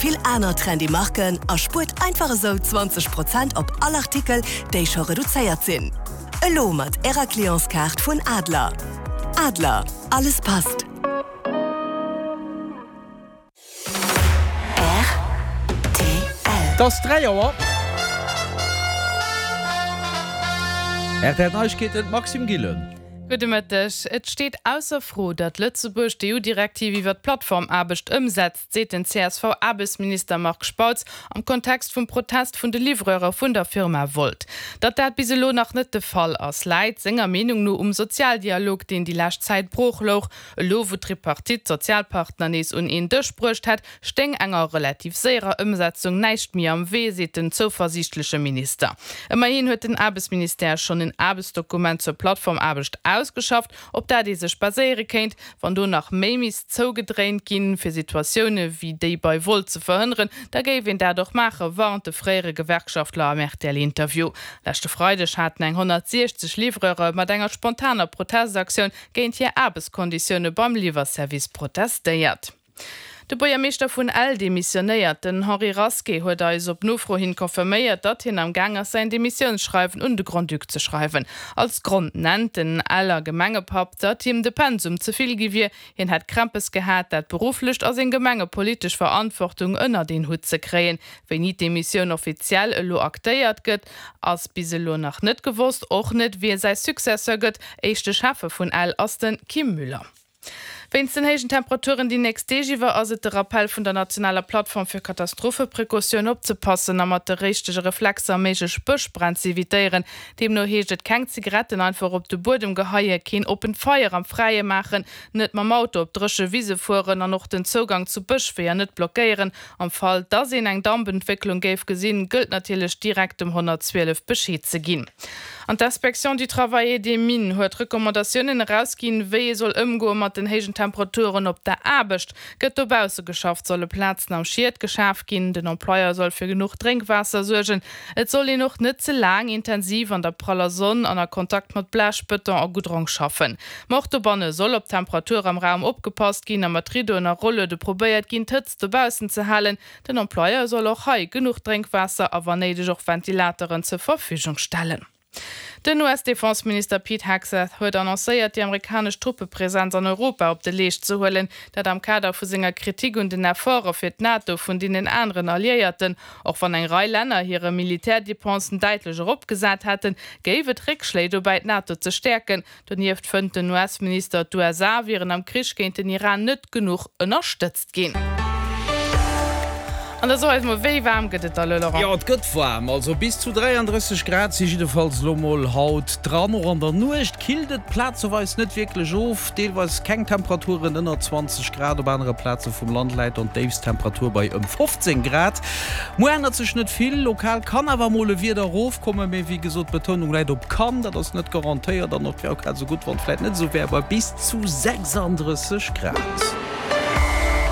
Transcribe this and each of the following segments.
Vill aner trendy Marken a spuert einfach esou 20 Prozent op all Artikel, déi scho reduzéiert sinn. Elo mat Ärer Clientskaart vun Adler. Adler, alles passt. Rtl. Et ass 3 Auer. Rtl Neiegkeeten, Maxime Gillen. Gudde Mëtteg. Et steet ausser Fro, datt Lëtzebuerg d'EU-Direktiv iwwer d'Plattformaarbecht ëmsetzt. seet den CSV-Aarbechtsminister Marc Spautz am Kontext vum Protest vun de Livreure vun der Firma Wolt. Datt dat bis elo nach net de Fall ass, läit senger Meenung no um Sozialdialog, deen déi lescht Zäit brooch louch. Elo wou d'Tripartite d'Sozialpartner nees un een Dësch bruecht hätt, stéing enger relativ séierer Ëmsetzung näischt méi am Wee, seet den zouversiichtleche Minister. Ëmmerhin huet den Aarbechtsministère schonn en Aarbechtsdokument zur Plattformaarbecht ausgeschafft, op dat ee sech baséiere kéint, Wann do nach méi misst zougedréint ginn, fir Situatioune wéi déi bei Wolt ze verhënneren, da géif een dat och maachen, warnt de fréiere Gewerkschaftler am RTL-Interview. Leschte Freideg haten eng 160 Livreure mat enger spontaner Protestaktioun géint hir Aarbechtskonditioune beim Liwwerservice protestéiert. De Buergermeeschter vun Ell demissionéiert. Den Henri Rasqué huet eis op Nofro hin confirméiert, datt hien am Gaang ass säin Demissiounsschreiwen un de Grand-Duc ze schreiwen. Als Grond nennt den Eller Gemengepapp, datt him de Pensum ze vill gi wier. Hien hätt Krämpes gehat, dat berufflecht a seng gemengepolitesch Verantwortung ënnert een Hutt ze kréien. Wéini d'Demissioun offiziell elo aktéiert gëtt, ass bis elo nach net gewosst. Och net, wie säi Successeur gëtt. Éischte Schäffe vun Ell ass de Kim Müller. Wéinst den héijen Temperaturen déi nächst Deeg iwwer ass et de Rappell vun der nationaler Plattform fir Katastropheprecautioun opzepassen a mat de richtege Reflexer méiglech Bëschbränn ze evitéieren. Deemno heescht et keng Zigaretten einfach op de Buedem geheien, keen oppent Feier am Fräie maachen, net mam Auto op dréche Wise fueren an och den Zougang zu Bëschweeër net blockéieren. Am Fall dass een eng Dampentwécklung géif gesinn, gëllt natierlech direkt dem 112 Bescheed ze ginn. An d'Inspection du Travail et des Mines huet Recommandatiounen erausginn, wéi ee soll ëmgoe mat den héijen Temperaturen op der Aarbecht. Gëtt dobausse geschafft, solle Plazen am Schiet geschaf ginn. Den Employeur soll fir genuch Drénkwaasser suergen. Et soll een och net ze laang intensiv an der praller Sonn an a Kontakt mat Blech, Bëton a Goudrong schaffen. Ma och dobanne soll op d'Temperatur am Raum opgepasst ginn a mat Riddoen a Rolluede probéiert ginn, d'Hëtzt dobaussen ze halen. Den Employeur soll och hei genuch Drénkwaasser a wann néideg och Ventilateren zur Verfügung stellen. Den US-Defenseminister Pete Hegseth huet annoncéiert, déi amerikanesch Truppepresenz an Europa op de Leescht ze huelen. Dat am Kader vu senger Kritik un den Efforte fir d'NATO vun deenen aneren Alliéierten. Och wann eng Rei Länner hire Militärdepensen däitlech eropgesat hätten, géif et Réckschléi dobäi, d'NATO ze stäerken. Donieft fënnt den US-Minister, d'USA wieren am Krich géint den Iran net genuch ënnerstëtzt ginn. An da so eis mol, wéi waarm gëtt et da lo, Laurent? Jo, et gëtt waarm, also bis zu 33 Grad si jiddefalls lo mol haut dran. Och an der Nuecht killt et plazeweis net wierklech of, deelweis keng Temperaturen ënner 20 Grad. Op anere Plaze vum Land läit dann d'Déifsttemperatur bei ëm 15 Grad. Muer ännert sech net vill, lokal kann awer mol e Wieder erofkommen, mee wéi gesot, d'Betounung läit op kann, dat ass net garantéiert an et wär och grad esou gutt, wann et vläit net esou wär bei bis zu 36 Grad.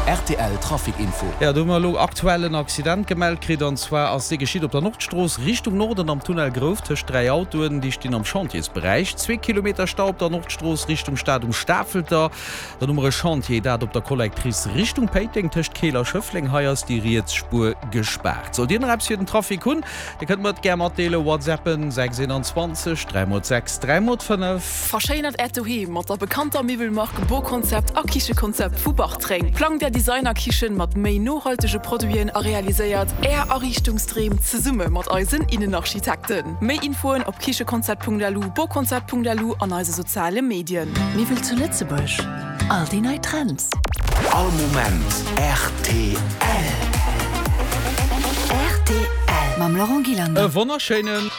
Rtl Trafic Info. Jo, do hu mer elo aktuell en Accident gemellt kritt an zwar ass dee geschitt op der Nordstrooss Richtung Norden am Tunnel Grouf tëscht 3 Autoen, déi stinn am Chantiersberäich. Zwee Kilometer Stau op der Nordstrooss Richtung Stad um Stafelter. Dann hu mer e Chantier, dat op der Collectrice Richtung Péiteng tëscht Keel a Schëffleng. Hei ass déi riets Spuer gespaart. Sollt Dir nach eppes fir den Trafic hunn, Dir kënnt mer et gär matdeelen, WhatsAppen 6 21 3 x 6 3 x 5. Verschéinert Äert Doheem mat der bekannter Miwwelmark Boconcept a Kichekonzept vu Bartreng. Plangt Är Designer-Kichen mat méi nohaltege Produiten a realiséiert Är Ariichtungsdreem zesumme mat eisen Innenarchitekten. Méi Infoen op kichekonzept.lu, boconcept.lu an eise soziale Medien. Miwwel zu Lëtzebuerg, all déi nei Trends. All Moment rtl. Rtl mam Laurent Gillander. E wonnerschéinen.